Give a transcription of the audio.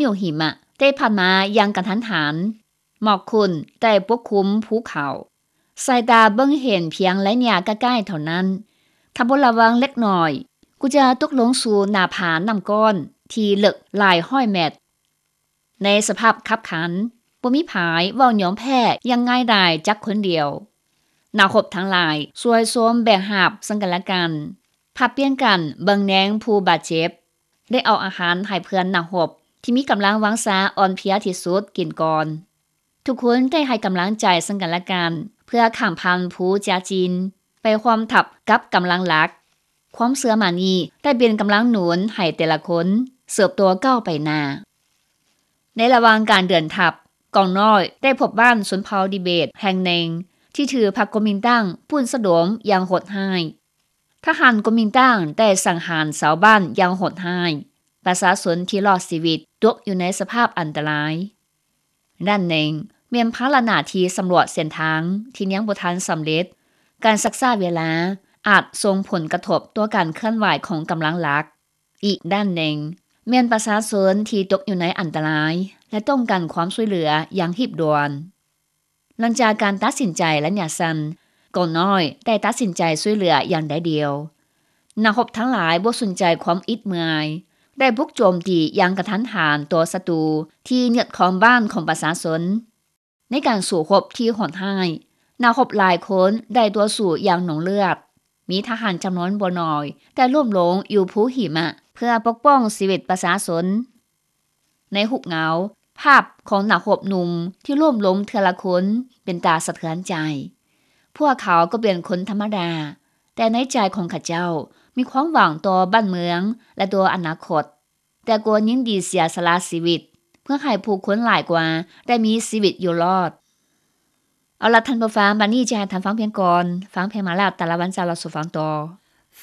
ຍວຫິມະໄດ້ພັດມາຢ່າງກະທັນຫັນ. ໝອກຂຸ້ນໄດ້ປົກຄຸມພູເຂົາ. ສາຍຕາເບິ່ງເຫັນພຽງໄລຍະໃກ້ໆເທົ່ານັ້ນ. ຖ້າບໍ່ລະວັງເລັກນ້ອຍ, ກໍຈະຕົກລົງສູ່ໜ້າຜານ້ຳກ້ອນທີ່ເລິກຫຼາຍຮ້ອຍແມັດ. ໃນສະພາບຄັບຂັນ, ບໍ່ມີໃຜເວົ້າຍອມແພ້ຢ່າງງ່າຍດາຍຈັກຄົນດຽວ. ນັກຮົບທັງຫຼາຍຊ່ວຍຊົມແບກຫາບເຊິ່ງກັນແລະກັນ, ຜັດປ່ຽນກັນເບິ່ງແຍງຜູ້ບາດເຈັບ, ໄດ້ເອົາອາຫານໃຫ້ເພື່ອນນັກຮົບທີ່ມີກຳລັງວັງຊາອ່ອນເພຍທີ່ສຸດກິນກ່ອນ. ທຸກຄົນໄດ້ໃຫ້ກຳລັງໃຈເຊິ່ງກັນແລະກັນ ເພື່ອຂ້າມຜ່ານພູຈາຈິນໄປຮ່ວມທັບກັບກຳລັງຫຼັກ. ຄວາມເຊື່ອໝັ້ນນີ້ໄດ້ເປັນກຳລັງໜູນໃຫ້ແຕ່ລະຄົນເຕີບໂຕກ້າວໄປໜ້າ. ໃນລະຫວ່າງການເດີນທັບ, ກອງນ້ອຍໄດ້ພົບບ້ານຊົນເຜົ່າທິເບດແຫ່ງໜຶ່ງ ທີ່ຖືພະກົນມິນຕັງປຸ້ນສະດົມຢ່າງໂຫດຮ້າຍ. ທະຫານກົນມິນຕັງໄດ້ສັງຫານຊາວບ້ານຢ່າງໂຫດຮ້າຍ. ປະຊາຊົນທີ່ລອດຊີວິດຕົກຢູ່ໃນສະພາບອັນຕະລາຍ. ດ້ານໜຶ່ງແມ່ນພາລະໜ້າທີ່ສຳຫຼວດເສັ້ນທາງທີ່ຍັງບໍ່ທັນສຳເລັດ. ການຊັກຊ້າເວລາອາດສົ່ງຜົນກະທົບຕໍ່ການເຄື່ອນໄຫວຂອງກຳລັງຫຼັກ. ອີກດ້ານໜຶ່ງແມ່ນປະຊາຊົນທີ່ຕົກຢູ່ໃນອັນຕະລາຍ ແລະ ຕ້ອງການຄວາມຊ່ວຍເຫຼືອຢ່າງຮີບດ່ວນ. ຫຼັງຈາກການຕັດສິນໃຈໄລຍະສັ້ນ, ກອງນ້ອຍໄດ້ຕັດສິນໃຈຊ່ວຍເຫຼືອຢ່າງດຽວດາຍ. ນັກຮົບທັງຫຼາຍບໍ່ສົນໃຈຄວາມອິດເມື່ອຍ, ໄດ້ບຸກໂຈມຕີຢ່າງກະທັນຫັນຕໍ່ສັດຕູທີ່ຍຶດຄອງບ້ານຂອງປະຊາຊົນ. ໃນການສູ້ຮົບທີ່ໂຫດຮ້າຍ, ນັກຮົບຫຼາຍຄົນໄດ້ຕໍ່ສູ້ຢ່າງໜອງເລືອດ. ມີທະຫານຈຳນວນບໍ່ໜ້ອຍໄດ້ລົ້ມລົງຢູ່ພູຫິມະເພື່ອປົກປ້ອງຊີວິດປະຊາຊົນ. ໃນຮູບເງົາ, ພາບຂອງນັກຮົບໜຸ່ມທີ່ລົ້ມລົງເທື່ອລະຄົນເປັນຕາສະເທືອນໃຈ. ພວກເຂົາກໍເປັນຄົນທຳມະດາ, ແຕ່ໃນໃຈຂອງເຂົາເຈົ້າມີຄວາມຫວັງຕໍ່ບ້ານເມືອງ ແລະ ຕໍ່ອະນາຄົດ. ແຕ່ກໍຍິນດີເສຍສະຫຼະຊີວິດ ເພື່ອໃຫ້ຜູ້ຄົນຫຼາຍກວ່າໄດ້ມີຊີວິດຢູ່ລອດ. ເອົາລະທ່ານຜູ້ຟັງ, ບັດນີ້ຈະໃຫ້ທ່ານຟັງພຽງກ່ອນ. ຟັງເພງມາແລ້ວ, ແຕ່ລະວັນຈະເລົ່າສູ່ຟັງຕໍ່.